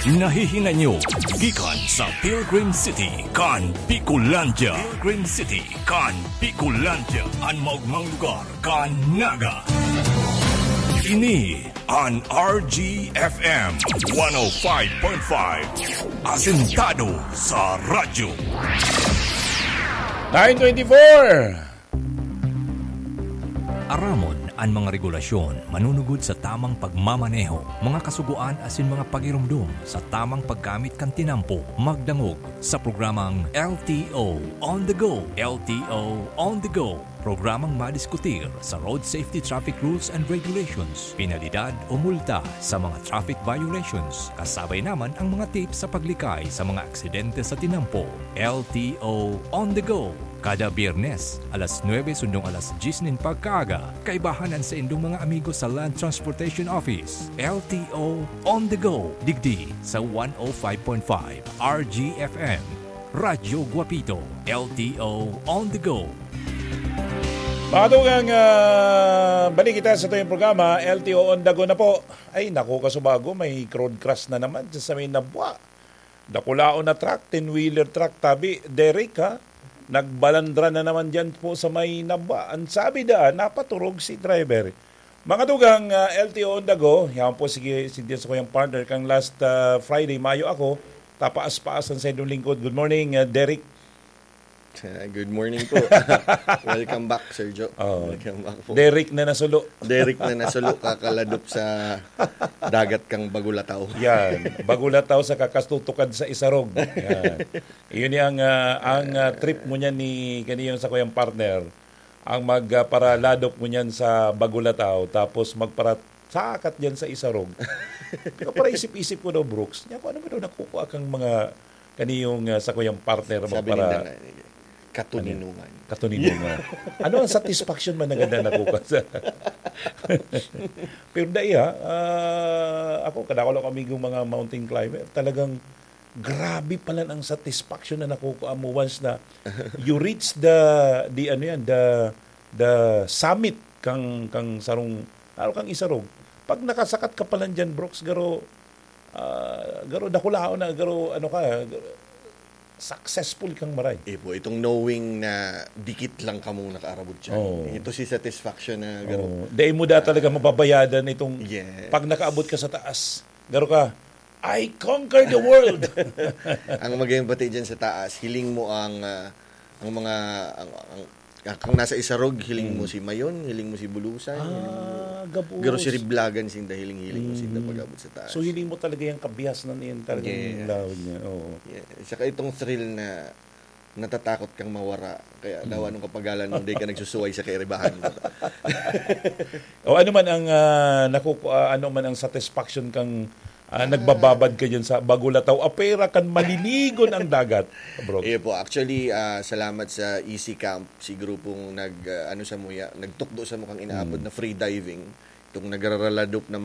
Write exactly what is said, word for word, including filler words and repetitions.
Nahihinay nyo gikan sa Pilgrim City kan Bicolandia. Pilgrim City kan Bicolandia, an maogmang lugar kan Naga. Ini an R G F M one oh five point five, asentado sa radyo. Nine twenty-four. Aramon an mga regulasyon manunugod sa tamang pagmamaneho, mga kasugoan asin mga pagiromdom sa tamang paggamit kan tinampo. Magdangog sa programang L T O on the Go. L T O on the Go. Programang madiskutir sa road safety, traffic rules and regulations, penalidad o multa sa mga traffic violations. Kasabay naman ang mga tips sa paglikay sa mga aksidente sa tinampo. L T O on the Go. Kada Biyernes, alas nuebe sundong alas diyes nin pagkaaga, kaibahan an saindong mga amigo sa Land Transportation Office. L T O on the Go, digdi sa one oh five point five R G F M. Radyo Guapito, L T O on the Go. Mga tugang, ah, balik kita sa tuyong programa, L T O on the Go na po. Ay, naku, kasubago, may road crash na naman sa may Nabua. Dakulaon na truck, ten-wheeler truck, tabi, Derek, ha? Nagbalandra na naman dyan po sa may Nabua. Ang sabi daan, napaturog si driver. Mga tugang, ah, L T O on the Go, yan po, sige, si Diaz ko yung partner, kang last, ah, Friday, mayo ako, tapaas-paas ang saindong lingkod. Good morning, ah, Derek. Good morning po. Welcome back, Sir Joe. Oh. Welcome back po. Derek na nasulo. Derek na nasulo, kakaladop sa dagat kang Bagulataw. Yan. Bagulataw sa kakastutukad sa Isarog. Yan. Yun yung, ah, ang, ah, trip mo niyan ni, kaniyong sa kuyang partner. Ang mag, ah, paraladop mo niyan sa Bagulataw, tapos magparasakat diyan sa Isarog. Pero para isip-isip ko daw, Brooks, niya kung ano ba daw nakukuha kang mga kaniyong, ah, sa kuyang partner mo Sabi para ninda nga, katuninungan. Katuninungan. Ano ang satisfaction man na ganda nakukuha sa... Pero dai ha, ah, ako, kadakol ako amigong mga mountain climber, talagang grabe pala ang satisfaction na nakukuha mo once na you reach the, the ano yan, the, the summit kang, kang sarong, lalo kang Isarog. Pag nakasakat ka pala dyan, Brooks, garo, ah, garo dakulaon na, garo ano ka, garo, successful kang maray. Eh po, itong knowing na dikit lang kamo nakaarabot dyan. Oo. Ito si satisfaction na garo. Oh, dai mo da talaga mababayadan itong Yes. pag nakaabot ka sa taas. Garo ka, "I conquered the world." Ang magayong bati dyan sa taas, hiling mo ang, ah, ang mga, ang, ang, ang, kang nasa Isarog, hiling mo si Mayon, hiling mo si Bulusan, hiling mo, Ah, gabos. Garo si Riblagan, sinda hiling-hiling mo, sinda Mm. pag-abot sa taas. So, hiling mo talaga yung kabiasnan na yun, talagang Yes. lawig niya. Oo. Yeah. Saka itong thrill na natatakot kang mawara. Kaya daw anong kapagalan mo, di ka nagsusuway sa kairibahan mo. O ano man ang, ah, nakuku-, ah, ano man ang satisfaction kang, ah, nagbababad ka dyan sa Bagulataw, apera kan maliligon ang dagat, bro. Iyo po, actually, ah, salamat sa Easy Camp, si grupong nag, ah, ano sa muya, nagtukdo sa mukang inaapod na free diving. Itong nagraraladop na